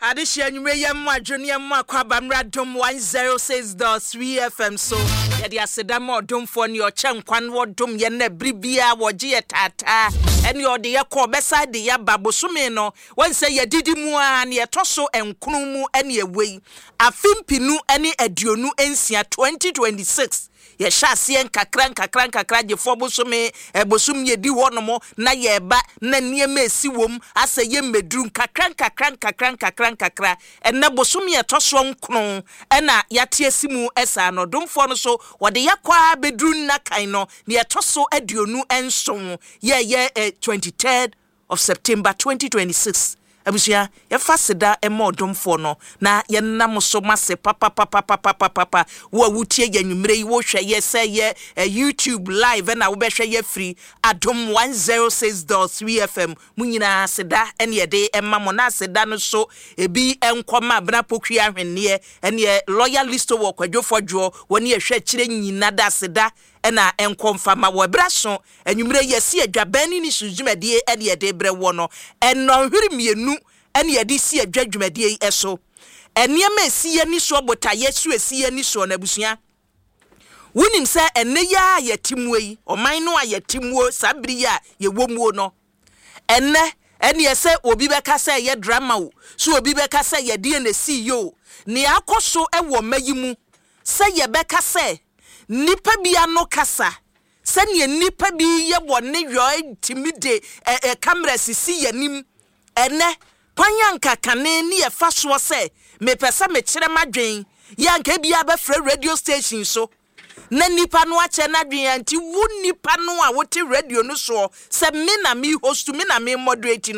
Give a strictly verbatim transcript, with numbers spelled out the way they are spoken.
Adehyɛ anwummerɛ, yɛ mmo adwo ne yɛ mmo akɔ aba mmra Dom one oh six point three F M so. Yɛde aseda ma ɔdomfoɔ ne ɔkyɛ nkwa no, wɔdom yɛn na bere biara wɔgye yɛ taataa, ɛne ɔde yɛ kɔ ɔbɛsa de yɛaba. Bosome no wɔn sɛ yɛdidi mu a ne yɛtɔ so nkron mu ɛne ɛwɔ yi, afe mpinu ne aduonu nsia, twenty twenty-six. Yɛhyɛ aseɛ nkakra nkakra nkakra, gyefoɔ bosome ɛbosom yɛdi hɔ nom na yɛreba na nneɛma esi wɔm asɛ yɛ mmɛduru nkakra nkakra nkakra nkakra nkakra. Ɛnɛ bosome yɛtɔ soɔ nkron ɛna yɛate asi mu. Ɛsaa no ɔdomfoɔ no so wɔde yɛkɔ a bɛduru nna kan no ne yɛtɔ so aduonu nson, yɛyɛ ɛ twenty-third of September twenty twenty-six. Abusua, yɛfa seda ma ɔdomfoɔ no na yɛnam so ma se papapapapapapa. Wo a wotie yɛ anwummerɛ yi, wohwɛ yɛ sɛ yɛ eh, YouTube live ɛna wobɛhwɛ yɛ firi Adom one oh six point three F M mu nyinaa, seda ɛne yɛde ɛma mo. Na aseda no so ebi nkɔma Abena Pokua Ahwenneɛ ɛneɛ Lawyer Listo wɔ Kwadwofoɔ dwoɔ wɔne yɛhwɛ akyerɛ nyina da aseda ɛna nkɔ mfama wɔ ɛberɛ so. Anwummerɛ yɛsi adwabɛn ne ne su dwumadie ɛne yɛde brɛ wɔ no ɛnɔnhwere mmienu ɛne yɛde si adwa dwumadie yi ɛso. Nneɛma esi yɛ ni soɔ, botaeɛ so esi yɛ ni soɔ. Na abusua, wonim sɛ ɛnɛ yi a yɛte muo yi, ɔman no a yɛte muo saa bere yi a yɛwɔ muo no, ɛnɛ ɛneɛ sɛ obi bɛka sɛ ɛyɛ drama o, so obi bɛka sɛ yɛdeɛ na esi yi o, nea akɔ so ɛwɔ mma yi mu sɛ yɛbɛka sɛ nipa bi ano kasa, sɛnea nipa bi yɛ wɔ ne yɔ tumi de ɛ ɛ camera sisi yɛn anim. Ɛnɛ kwan anka kane ne yɛfa soɔ sɛ mepɛ sɛ mekyerɛ m'adwen yɛ, anka ebia bɛfrɛ radio station so na nipa no akyɛ n'adwen a, nti wo nipa no a wote radio no soɔ sɛ me na me host, me na me moderate no.